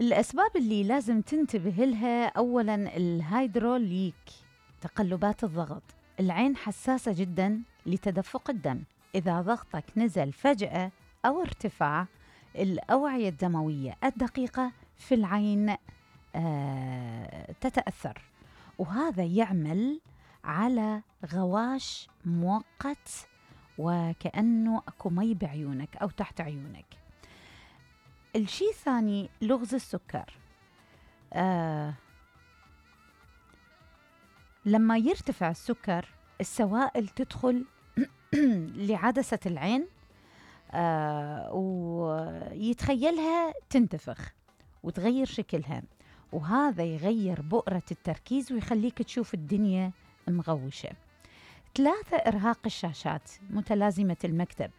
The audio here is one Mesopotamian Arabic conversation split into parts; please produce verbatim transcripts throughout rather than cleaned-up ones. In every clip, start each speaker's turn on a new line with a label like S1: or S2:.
S1: الأسباب اللي لازم تنتبه لها، أولاً الهيدروليك، تقلبات الضغط. العين حساسة جداً لتدفق الدم، إذا ضغطك نزل فجأة أو ارتفاع، الأوعية الدموية الدقيقة في العين آه تتأثر، وهذا يعمل على غواش مؤقت وكأنه أكو مي بعيونك أو تحت عيونك. الشيء الثاني لغز السكر. آه لما يرتفع السكر، السوائل تدخل لعدسة العين آه ويتخيلها تنتفخ وتغير شكلها، وهذا يغير بؤرة التركيز ويخليك تشوف الدنيا مغوشة. ثلاثة، إرهاق الشاشات متلازمة المكتب.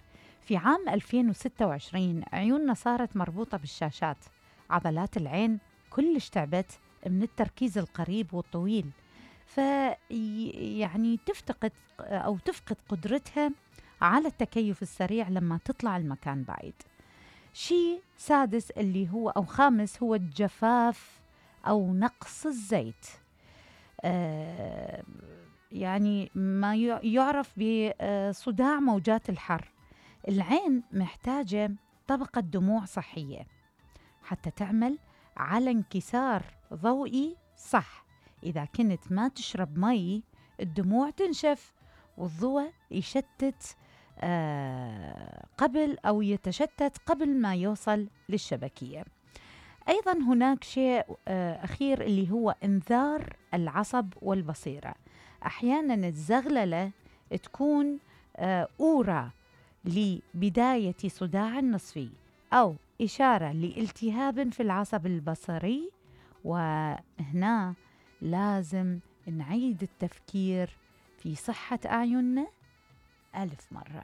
S1: في عام ألفين وستة وعشرين عيوننا صارت مربوطة بالشاشات، عضلات العين كلش تعبت من التركيز القريب والطويل، فيعني تفتقد أو تفقد قدرتها على التكيف السريع لما تطلع المكان بعيد. شيء سادس اللي هو أو خامس هو الجفاف أو نقص الزيت، آه يعني ما يعرف بصداع موجات الحر. العين محتاجة طبقة دموع صحية حتى تعمل على انكسار ضوئي صح. إذا كنت ما تشرب مي، الدموع تنشف والضوء يشتت آه قبل أو يتشتت قبل ما يوصل للشبكية. أيضا هناك شيء آه أخير اللي هو إنذار العصب والبصيرة. أحيانا الزغللة تكون آه أورا لبداية صداع نصفي أو إشارة لالتهاب في العصب البصري، وهنا لازم نعيد التفكير في صحة أعيننا ألف مرة.